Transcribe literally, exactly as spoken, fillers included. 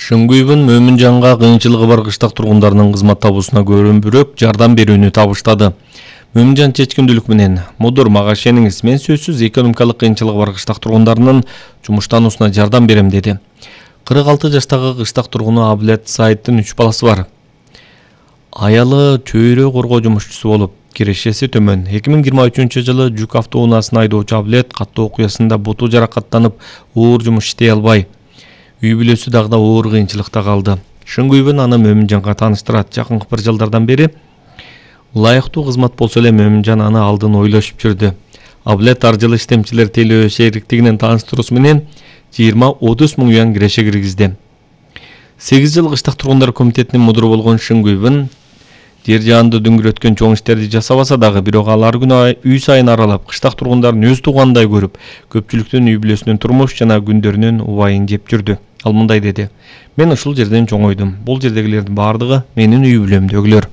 Шыңгүйбүн Мөмүнжанга кыйынчылыгы бар кыштак тургундарынын кызмат табуусуна көрүнбүрөөк жардам берүүнү табыштады. Мөмүнжан чечкиндүүлүк менен: "Мудур, мага ишениңиз, мен сөзсүз экономикалык кыйынчылыгы бар кыштак тургундарынын жумуштануусуна жардам берем", деди. кырк алты жаштагы кыштак тургуну Абылет Саиддин үч баласы бар. Аялы чөйрө коргоо жумушчусу болуп, кирешеси төмөн. эки миң жыйырма үчүнчү жылы жүк автоунаасын айдоочу Абылет каттуу окуясында буту жаракаттанып, оор жумуш иштей албай, үй бүлөсү дагы да оор кыйынчылыкта калды. Шыңгүйбүн аны Мөмүнжанга тааныштырат. Жакынкы бир жылдардан бери ылайыктуу кызмат болсо эле Мөмүнжан аны алдын ойлошуп жүрдү. Абылет ар жылы иштемчилер телөө шериктигинин тааныштыруусу менен жыйырма отуз миң юан киреше киргизди. сегиз жыл кыштак тургундар комитетинин мудуру болгон Шыңгүйбүн жер жаанды дүңгүрөткөн чоң иштерди жасабаса дагы, бирок ал ар күнү үй сайын аралап, кыштак тургундарын өз туугандай көрүп, көпчүлүктүн үй бүлөсүнүн турмуш жана күндөрүнүн убайын жеп жүрдү. Ал мындай деди: "Мен ушул жерден чоңойдум. Бул жердегилердин бардыгы менин үй бүлөмдөгүлөр.